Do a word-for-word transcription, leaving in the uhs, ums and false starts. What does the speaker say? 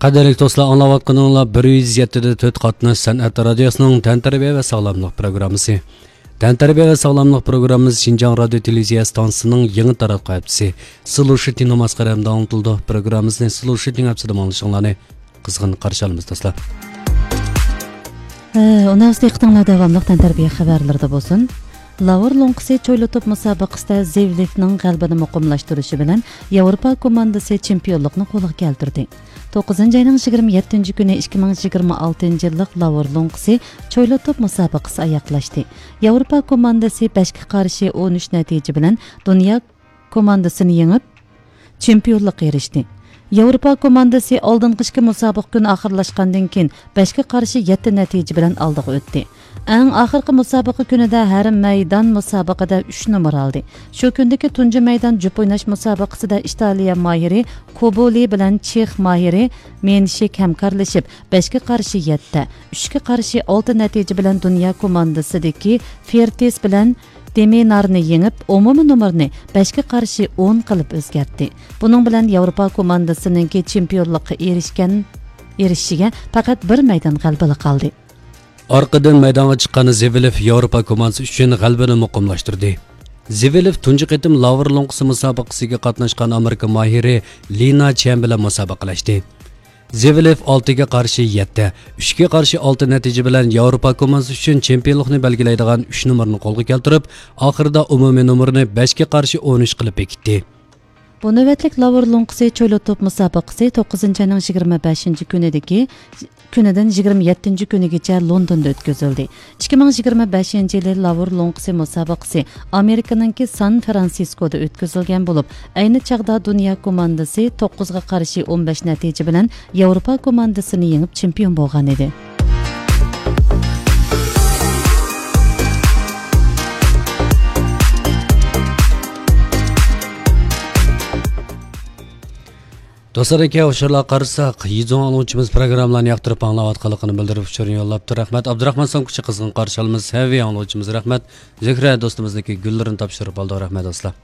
قەدىرلىك دوستلار، ئاڭلاۋاتقىنىڭلار بىر يۈز يەتتە دە تۆت قاتناش سەنئەت رادىيوسىنىڭ تەنتەربىيە ۋە ساغلاملىق پروگراممىسى. تەنتەربىيە ۋە ساغلاملىق پروگراممىسى شىنجاڭ رادىيو تېلېۋىزىيە ئىستانسىسىنىڭ يېڭى تاراتقۇ ھەپتىسى سلۇشىتىڭ نۇماسقا رەھمىتى ئاڭلىتىلىدۇ. پروگراممىسىنى سلۇشىتىڭ ھەپتىسىدە ئاڭلىشىڭلارنى قىزغىن قارشى ئالىمىز، دوستلار. ئۇنىڭ ئۈستىگە دىققىتىڭلار داۋاملىق تەنتەربىيە خەۋەرلىرىدە بولسۇن. لاۋور لوڭقىسى چويلا توپ مۇسابىقىسىدە زىۋلېفنىڭ غەلىبىنى مۇقىملاشتۇرۇشى بىلەن ياۋروپا كوماندىسى چېمپىيونلۇقنى قولغا كەلتۈردى. توققۇزىنچى ئاينىڭ يىگىرمە يەتتىنچى كۈنى ئىككى مىڭ يىگىرمە ئالتىنچى يىللىق لاۋور لوڭقىسى چويلا توپ مۇسابىقىسى ئاياغلاشتى. ياۋروپا كوماندىسى بەشكە قارشى ئون ئۈچ نەتىجە بىلەن دۇنيا كوماندىسىنى يېڭىپ، چېمپىيونلۇققا ئېرىشتى. ياۋروپا كوماندىسى ئالدىنقى ئىككى مۇسابىقە كۈنى ئاخىرلاشقاندىن كېيىن، بەشكە قارشى يەتتە نەتىجە بىلەن ئالدىغا ئۆتتى. ئەڭ ئاخىرقى مۇسابىقە كۈنىدە ھەر مەيدان مۇسابىقىدە ئۈچ نومۇر ئالدى. شۇ كۈندىكى تۇنجى مەيدان جۈپ ئويناش مۇسابىقىسىدە ئىتالىيە ماھىرى كوبولى بىلەن چېخ ماھىرى مېنشىك ھەمكارلىشىپ، بەشكە قارشى يەتتە، ئۈچكە قارشى ئالتە نەتىجە بىلەن دۇنيا كوماندىسىدىكى فېرتىس بىلەن دېمىنارنى يېڭىپ، ئومۇمىي نومۇرنى بەشكە قارشى ئون قىلىپ ئۆزگەرتتى. بۇنىڭ بىلەن ياۋروپا كوماندىسىنىڭكى چېمپىيونلۇققا ئېرىشكەن، ئېرىشىشىگە پەقەت بىر مەيدان غەلىبىلىك قالدى. ئارقىدىن مەيدانغا چىققان زىۋلېف ياۋروپا كوماندىسى ئۈچۈن غەلىبىنى مۇقىملاشتۇردى. زىۋلېف تۇنجى قېتىم لاۋور لوڭقىسى مۇسابىقىسىگە قاتناشقان ئامېرىكا ماھىرى لىنا چيەن بىلەن مۇسابىقىلەشتى. زىۋلېف ئالتىگە قارشى يەتتە، ئۈچكە قارشى ئالتە نەتىجە بىلەن ياۋروپا كوماندىسى ئۈچۈن چېمپىيونلۇقنى بەلگىلەيدىغان ئۈچ نومۇرنى قولغا كەلتۈرۈپ، ئاخىرىدا ئومۇمىي نومۇرنى بەشكە قارشى ئون ئۈچ قىلىپ بېكىتتى. بۇ نۆۋەتلىك لاۋور لوڭقىسى چويلا توپ مۇسابىقىسى توققۇزىنچى ئاينىڭ يىگىرمە بەشىنچى كۈنىدىكى، كۈنىدىن يىگىرمە يەتتىنچى كۈنىگىچە لوندوندا ئۆتكۈزۈلدى. ئىككى مىڭ يىگىرمە بەشىنچى يىلى لاۋور لوڭقىسى مۇسابىقىسى ئامېرىكىنىڭكى سان فرانسىسكودا ئۆتكۈزۈلگەن بولۇپ، ئەينى چاغدا دۇنيا كوماندىسى توققۇزغا قارشى ئون بەش نەتىجە بىلەن ياۋروپا كوماندىسىنى يېڭىپ چېمپىيون بولغان ئىدى. دوستلار، ئەگەر ئۇچۇرلارغا قارىساق، يىزۇڭ ئاڭلىغۇچىمىز پروگراممىلارنى ياقتۇرۇپ ئاڭلاۋاتقانلىقىنى بىلدۈرۈپ ئۇچۇرنى يوللاپتۇ. رەھمەت. ئابدۇراخمان سامكىچى قىزغىن قارشى ئالىمىز. ھەۋى ئاڭلىغۇچىمىز رەھمەت. زۆھرە دوستىمىزنىڭكى گۈللىرىنى تاپشۇرۇپ ئالدۇق. رەھمەت، دوستلار.